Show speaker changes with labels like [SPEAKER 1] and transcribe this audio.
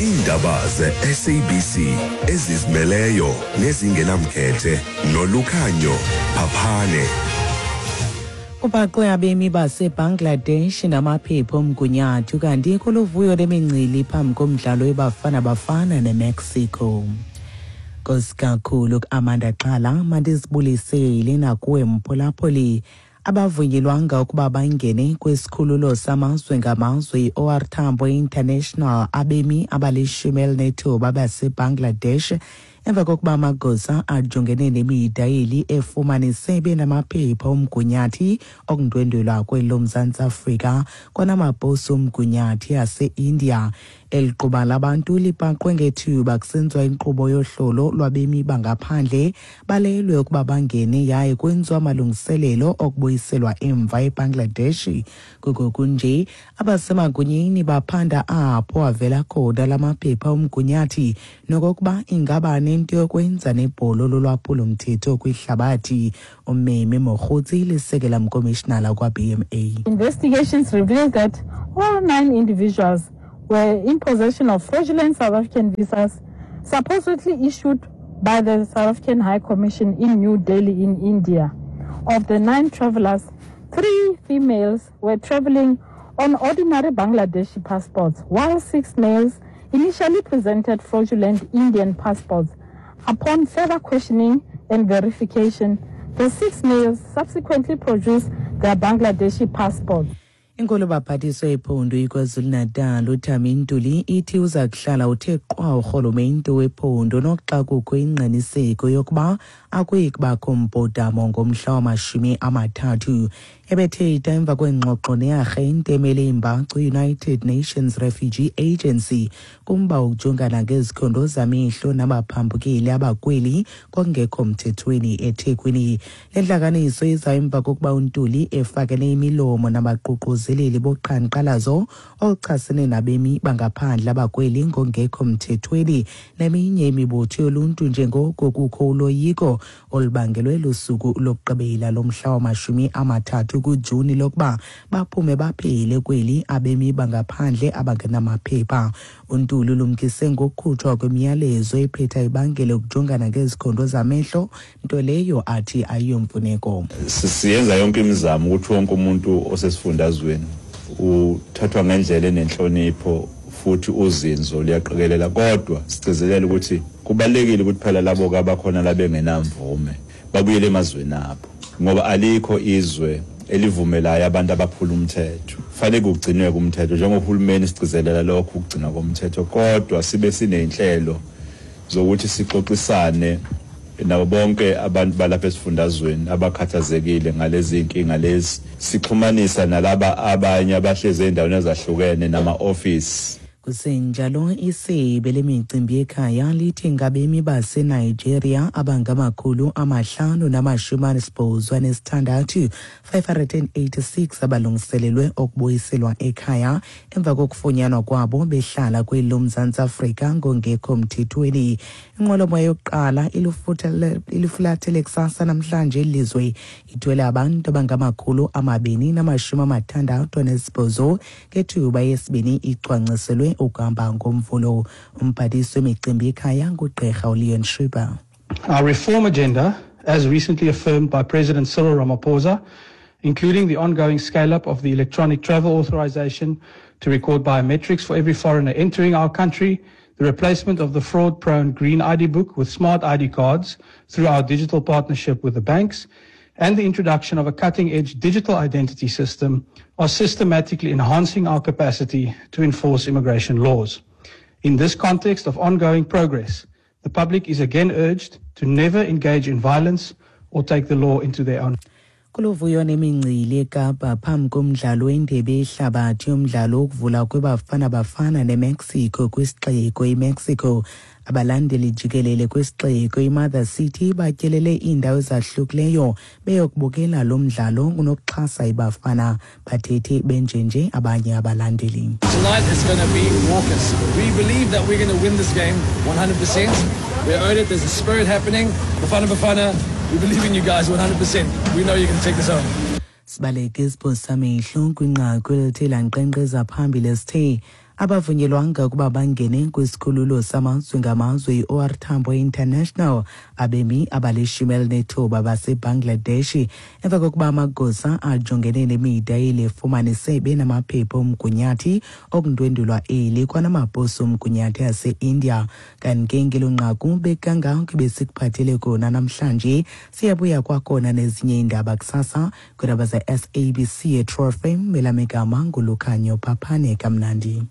[SPEAKER 1] Iindaba ze-SABC ezizimeleyo nezingenamkhethe nolukhanyo Phaphane.
[SPEAKER 2] Kubhaqwe abemi baseBangladesh namaphepha omgunyathi kanti kuluvuyo lemincili phambi komdlalo weBafana Bafana neMexico. Nkosi kakhulu Amanda Xhala, mandizibulisele nakuwe mphulaphuli. Abavunyelwanga ukuba bangene kwisikhululo samazwe ngamazwe i-OR Tambo International abemi abalishumi elinethoba baseBangladesh emva kokuba amagosa ajongene nemida yeli efumanise benamaphepha omgunyathi okundwendwelwa kweli loMzantsi Afrika kwanamaposi omgunyathi ase-India. Eli quba labantu libhaqwe ngethuba kusenziwa inkqubo yohlolo lwabemi bangaphandle balelwe ukuba bangene yaye kwenziwa amalungiselelo okubuyiselwa emva eBangladesh. Kungokunje abasemagunyeni baphanda apho avela khona la maphepha omgunyathi nokokuba ingaba nento yokwenza nebholo lolwaphulomthetho kwihlabathi. Ummemi Mogotsi lisekela mkomishinala kwa-BMA.
[SPEAKER 3] Investigations revealed that all 9 individuals were in possession of fraudulent South African visas supposedly issued by the South African High Commission in New Delhi in India. Of the 9 travelers, 3 females were traveling on ordinary Bangladeshi passports, while 6 males initially presented fraudulent Indian passports. Upon further questioning and verification, the 6 males subsequently produced their Bangladeshi passports.
[SPEAKER 2] Inkulu baphathiswa ephondo iKwaZulu-Natal uThami Ntuli ithi uza kuhlala uthe qwa urhulumente wephondo noxa kukho ingqiniseko yokuba akuyi kubakho mbhodamo ngomhla wamashumi amathathu. Ebethetha emva kwengxoxo nearhente emele imbacu United Nations Refugee Agency kumba wokujongana ngezikhondo zamehlo nabaphambukeli abakweli kwakungekho mthethweni eThekwini. Le ntlanganiso iza emva kokuba uNtuli efakele imilomo nabaququzeleli boqhankqalazo oluchasene nabemi bangaphandle abakweli ngongekho mthethweni neminye imibutho yoluntu njengoko kukho uloyiko olubangelwe lusuku lokugqibela lomhla wamashumi amathathu kuJuni lokuba baphume baphele kweli abemi bangaphandle abangenamaphepha. UNtuli ulumkise ngokukhutshwa kwemiyalezo ephetha ibangele ukujongana ngezikhondo zamehlo, nto leyo athi ayiyomfuneko.
[SPEAKER 4] Siyenza yonke imizamo ukuthi wonke umuntu osesifundazweni uthathwa ngendlela enenhlonipho futhi uzinzo luyaqikelela, kodwa sigcizelela ukuthi kubalulekile ukuthi phela labo abakhona labengenamvume babuyele emazweni abo, ngoba alikho izwe elivumelayo abantu abaphula umthetho. Fanele kugcinwe umthetho njengohulumeni, sigcizelela lokho ukugcinwa komthetho, kodwa sibe siney'nhlelo zokuthi sixoxisane nabo bonke abantu balapha esifundazweni abakhathazekile ngalezi inkinga lezi, sixhumanisa nalaba abanye abahlezi ey'ndaweni ezahlukene nama-ofisi.
[SPEAKER 2] Kusenjalo, isebe lemicimbi yekhaya lithi ngabemi baseNigeria abangama-586 586 abalungiselelwe okubuyiselwa ekhaya emva kokufunyanwa kwabo behlala kweli loMzantsi Afrika ngongekho mthethweni. Inqwelomoya yokuqala ilufulathele kusasa namhlanje ilizwe ithwele abantu abangama-268 ngethuba yesibini icwangciselwe ukuhamba ngoMvulo. Umphathiswa wemicimbi yekhaya nguGqirha uLeon Schreiber.
[SPEAKER 5] Our reform agenda, as recently affirmed by President Cyril Ramaphosa, including the ongoing scale-up of the electronic travel authorization to record biometrics for every foreigner entering our country, the replacement of the fraud-prone green ID book with smart ID cards through our digital partnership with the banks, and the introduction of a cutting-edge digital identity system are systematically enhancing our capacity to enforce immigration laws. In this context of ongoing progress, the public is again urged to never engage in violence or take the law into their own.
[SPEAKER 2] Kuluvuyo nemincili eKapa phambi komdlalo wendebe yehlabathi yomdlalo wokuvula kweBafana Bafana neMexico kwisixeko iMexico. Abalandeli jikelele kwisixeko iMother City batyelele iindawo ezahlukileyo beyokubukela lo mdlalo kunokuxhasa iBafana. Bathethe benjenje abanye abalandeli.
[SPEAKER 6] Tonight is going to be raucous. We believe that we're going to win this game 100%. We earned it. There's a spirit happening. Bafana Bafana, we believe in you guys 100%. We know you can take this home.
[SPEAKER 2] Sibaleke isiphosa samehlo kwinqaku elithe lankqenkqeza phambili esithe. Abavunyelwanga ukuba bangene kwisikhululo samazwe ngamazwe i-OR Tambo International abemi abali-19 baseBangladesh emva kokuba amagosa ajongene nemida elifumanise benamaphepha omgunyathi okundwendulwa eli kwanamaposi omgunyathi ase-India. Kanti ke ngelo nqaku bekangako besikuphathele kona namhlanje. Siyabuya kwakhona nezinye iindaba kusasa kwiindaba ze-SABC eTro FM. Elamegama nguLukhanyo Phaphane. Kamnandi.